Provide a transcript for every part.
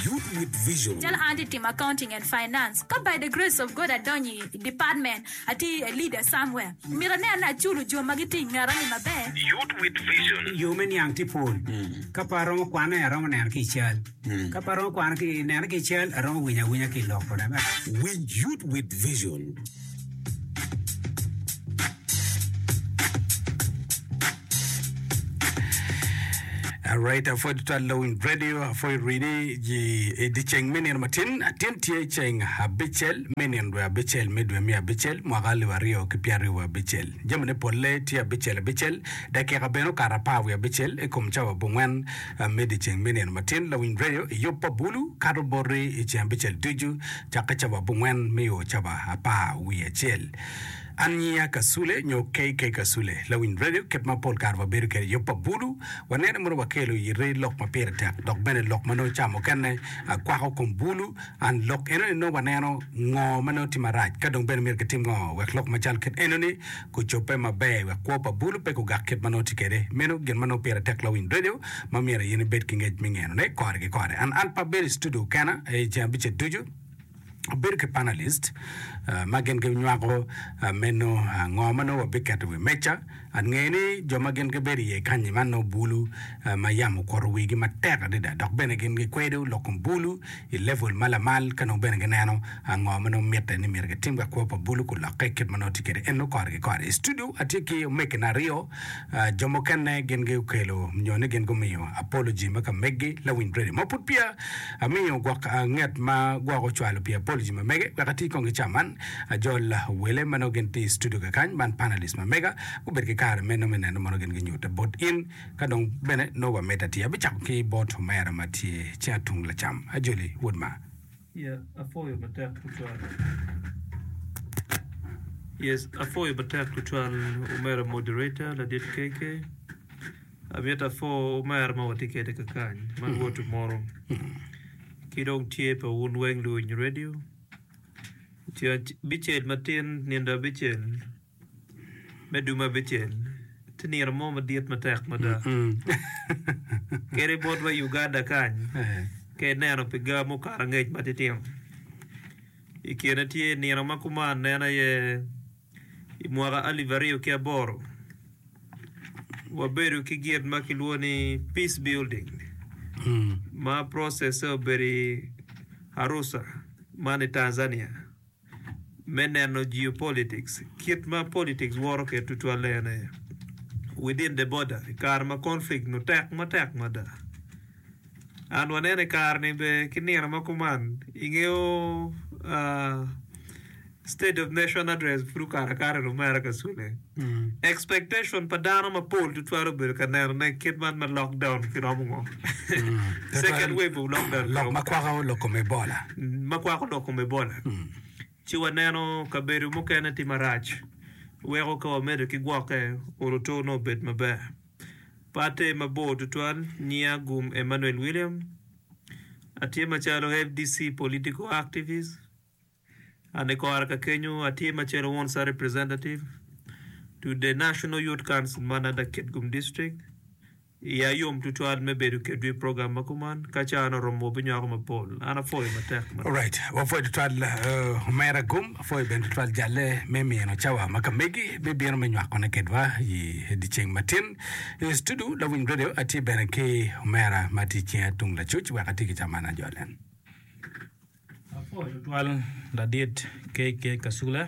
Youth with Vision. Calo an atye timo accounting and finance, ka by the grace of God adonyo i department, atye a leader somewhere, myero anen ni aculo jo ma gitye i ngeta ni maber. Youth with Vision. Yo me niang tye pol. Ka pe aromo kwane, aromo neno ki i cal. Ka pe aromo kwano ki nene ki i cal, aromo winyo awinya ki i lok kode. Winj Youth with Vision. Alright, apwoyo tutwal Lawiny Radio, apwoyo rini ji i dyeceng me nino matin. Atin tye ceng abicel me nino dwe abicel me dwe me abicel mwaka alip aryo ki pyeraryo wiye abicel. Jamine polle tye abicel abicel, dakika bene okato apar wiye abicel i kom cawa abongwen me dyeceng me nino matin. Lawiny Radio i yub pa bulu kato boti i ceng abicel ducu cakke cawa abongwen me o cawa apar wiye acel. An nyinga Kasule nyo KK Kasule, lawiny radio kit ma pol kare wabedo kwede i yub pa bulu. Wanene mono wakelo iti lok ma pire tek dok bene lok ma nongo ca mukene kwako kom bulu. An lok enoni nongo waneno ngo ma nongo tye marac ka dong bene myero kitim ngo wek lok macal kit enoni gucobbe maber wek kwo pa bulu pe gugak kit ma nongo tye kwede. Meno gin ma nongo pire tek lawiny radio ma myero in ibed ki ngec me ngenone kore ki kore. An an pe abedo i studio kena i ceng abicel ducu. Abedo ki panalist ma gin ginywako meno ngo ma nongo wabiketo i wi meja. Angeyo ni jo ma gin gibedo iye kanyi man nongo bulu ma yamo okuto wigi matek adada dok bene gin gikwedo lok kom bulu i level ma lamal ka nongo bene gineno ngo ma nongo mitte ni myero gitim wek kwo pa bulu gulokke kit ma nongo tye kwede eno kore ki kore. I studio atye ki omegina aryo jo mukene gin gukelo nyo ni gin gumiyo apology ma ka megi lawiny radio ma pud peya Amiyo gwok nget ma gwok ocwalo pi apology ma mege wek ati kong ki ca man. Ajol wele ma nongo gin tye i studio kakany man panelist ma mega gubed ki kare meno me neno mono gin ginyute bot in ka dong bene nongo wamedde atiya. Abicako ki bot omera ma tye cinga tung lacam. Ajoli wod ma. Yeah, apwoyo matek tutwal. Yes, apwoyo matek tutwal omera moderator ladit KK. Amito apwo omera ma watye kwede kakany ma Rwot omoro ki dong tye pa wun weng luwiny redio. Ceng abicel matin nindo abicel me dume abicel tye nino mo madit matek mada. Kadi botwa i Uganda kany ka ineno pi ga mukato angec matitino i kine tye nino ma kuman en aye I mwaka 2008, wabedo ki gin ma kilwongo ni Peace Building ma process-se obedo i Arusha man i Tanzania me neno geopolitics, kit ma politics woto kwede tutwalle en aye within the border i kare ma conflict nongo tek matek mada. And waneno i kare-ni bene ki nino ma kuman ingeyo State of Nation Address pud okato akata i lumera ka cule. Expectation pa dano mapol tutwal obedo ka neno ne kit man ma lockdown kiromo ngo. Second wave of lockdown Lok kiromo ma kwako lok kom Ebola. ma kwako lok kom Ebola. Ci waneno kabedo mukene tye marac weko ka wamedo ki gwokke oroto nongo obed maber. Pe ater mabor tutwal, nyinga Gum Emmanuel William, atye macalo FDC political activist. An i kore ka kenyo atye macalo Wonsa Representative to the National Youth Council man under Kitgum District. Iya yom tutwal me bedo kedwu i program ma kuman. Ka cawa oromo wabinywako mapol. An apwoyo matek mada. Alright, wapwoyo tutwal uh, omera Gum, apwoyo bene tutwal jalle me mino cawa ma ka megi me bino me nywakone kedwa i dyeceng matin. I studio Lawiny Radio atye bene ki omera ma tye i cinga tung lacuc wek ati ki cawa man ajole. Apwoyo tutwal ladit KK Kasule.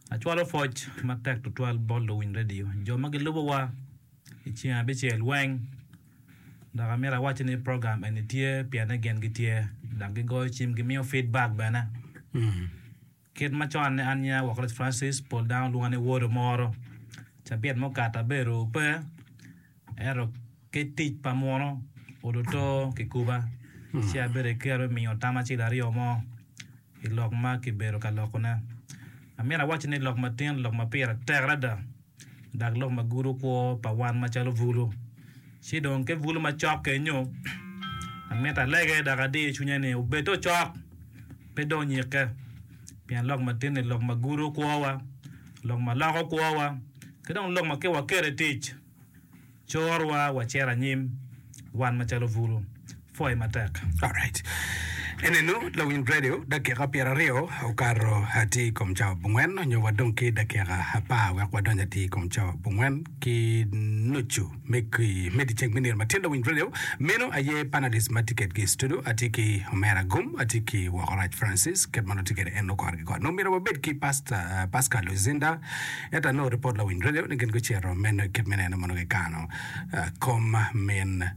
Acwalo pwoc matek tutwal bot luwiny redio, jo ma gilubowa i ceng abicel weng. Dok amito awacci ni program eni tye pienne gin gitye dok gigoyo cim gimiyo feedback bene. Kit macon ni an nyinga Wakolet Francis, pol dano lwonga ni Wod Omoro. Cabit mukato abedo pe, ento ki tic pa muno odoto kikuba ci abedo ki kero me miyo tam acel aryo mo i lok ma kibedo ka lokone. Amito awacci ni lok matin lok ma pire tek adada. dok lok ma gudo kwo pa wan macalo bulu. Ci dong ki bulu macok kenyo, amito alege dok adiyo cwinya ni obed ocok, pe dong onyikke, pien lok matin-ni lok ma gudo kwowa, lok ma loko kwowa, ki dong lok ma ka waketo i tic, corwa wacito anyim wan macalo bulu. Apwoyi matek. Alright. Enenu lawiny radio dakika pyeraryo okato atir i kom cawa abongwen nyo wadong ki dakika apar wek wadony atir i kom cawa abongwen ki nucu me ki me dyeceng me nino matin lawiny radio meno aye panelist ma tye kedgi i studio atye ki Omera Gum atye ki Wokorac Francis kit ma nongo tye kwede en kore ki kore nongo myero wabed ki Pastor Pascal Luzinda ento anongo ripot lawiny radio ni gin gucito meno kit me neno ma nongo gikano kom min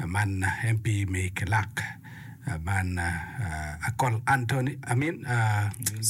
Man MP me Kilak man Akol Anthony I mean.